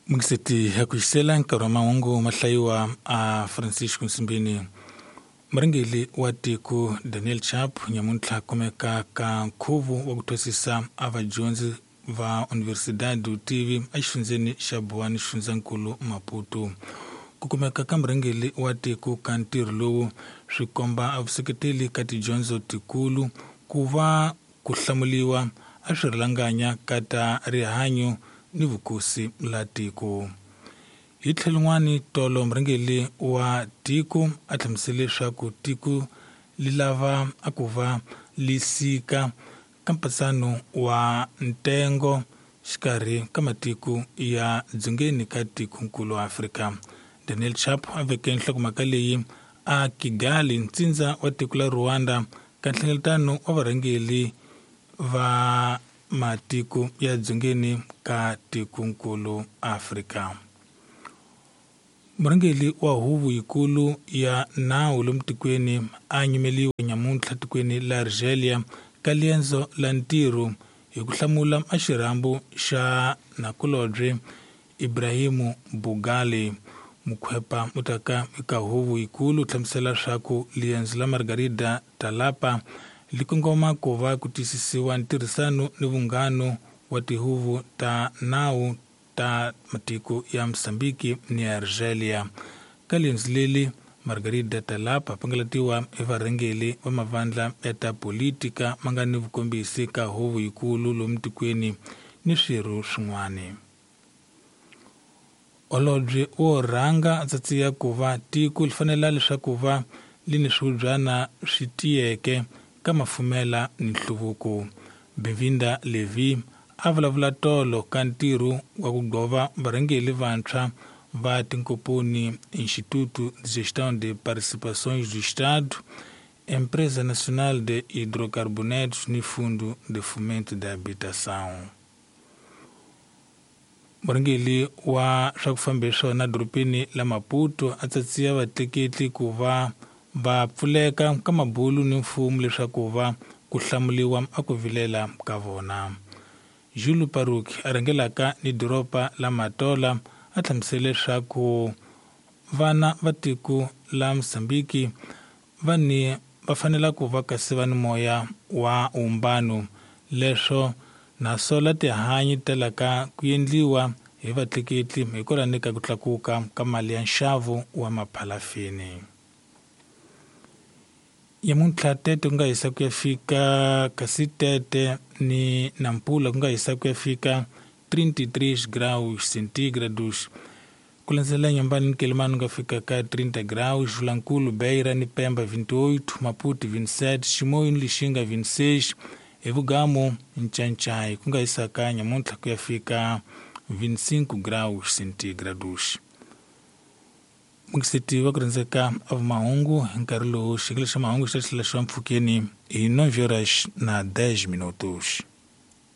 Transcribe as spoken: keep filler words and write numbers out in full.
Mungiseti ya ku xisela nkarhi wa mahungu mahlayiwa a Francisco Nsimbini. Murhangeri wa tiko Daniel Chapo nyamuntlha kumeka ka nkhuvo wa ku thwasisa a vadyondzi va Universidade Utivi exifundzheni xa Buwani xifundzankulu Maputo. Ku kumeka ka murhangeri wa tiko ka ntirho lowu swi komba a vuseketeli ka tidyondzo tikulu ku va ku hlamuliwa a swi rhulanganya ka ta rihanyo ni vukosi la tiko. Hi tlhelo rin'wani tolo murhangeri wa tiko a hlamusele leswaku tiko li lava a ku va li sika ka mpatsano wa ntengo xikarhi ka matiko ya dzongeni ka tikonkulu wa Afrika. Daniel Chapo a veke nhlokomhaka leyi a Kigali, ntsindza wa tiko la Rwanda, ka nhlengeletano wa varhangeri va matiko ya dzongeni ka tikonkulu Afrika. Murhangeri wa huvo yikulu ya nawu lomu tikweni a nyimeliwe nyamuntlha tikweni la Algeria ka liendzo la ntirho hi ku hlamula a xirhambo xa nakulobye Ibrahimu Bugali. Mukhwepa mutaka eka huvo yikulu hlamusela leswaku liendzo la Margarida Talapa li kongoma ku va ku tiyisisiwa ntirhisano ni vunghano wa tihuvo ta nawu ta matiko ya Mozambique ni Algeria. Ka liendzo leli Margarida Talapa pangalatiwa hi varhangeri va mavandla ya ta politika ma nga ni vukombisi ka huvo yikulu lomu tikweni ni swirho swin'wana. Holobye wo rhanga a tsatsiya ku va tiko li fanela leswaku va li ni swihubyana swi tiyeke ka mafumela ni nhluvuko. Bevinda Levi a vulavula tolo ka ntirho wa ku gova varhangeri vantshwa va tinkomponi Instituto de Gestão de Participações do Estado, Empresa Nacional de Hidrocarbonetos ni Fundo de Fomento da Habitação. Murhangeri wa swa ku famba hi swona dorobeni la Maputo a tsatsiya vatleketli ku va va pfuleka ka mabulu ni mfumo leswaku va ku hlamuliwa a ku vilela ka vona. Julu Paruki a rhangelaka ni doroba la Matola a hlamusele leswaku vana va tiko la Mozambique va ni va fanela ku va kasi va ni moya wa umbano leswo naswona tihanyi telaka ku endliwa hi vatleketli hikwalaho ka ku tlakuka ka mali ya nxavo wa maphalafini. Nyamuntlha Tete ku nga hisa ku ya fika kasi Tete ni Nampula ku nga hisa ku ya fika trinta e três graus centígrados. Ku landzela Nyambani ni Quelimane ku nga fika ka trinta graus, Vilankulu, Beira ni Pemba vinte e oito, Maputo vinte e sete, Chimoio ni Lixinga vinte e seis, Evugamu Nchancai ku nga hisa ka nyamuntlha ku ya fika vinte e cinco graus centígrados. Mungiseti wa ku rhandzeka a mahungu hi nkarhi lowu xikele xa mahungu xi ta tlhela xi va mpfhukeni hi nove horas na dez minutos.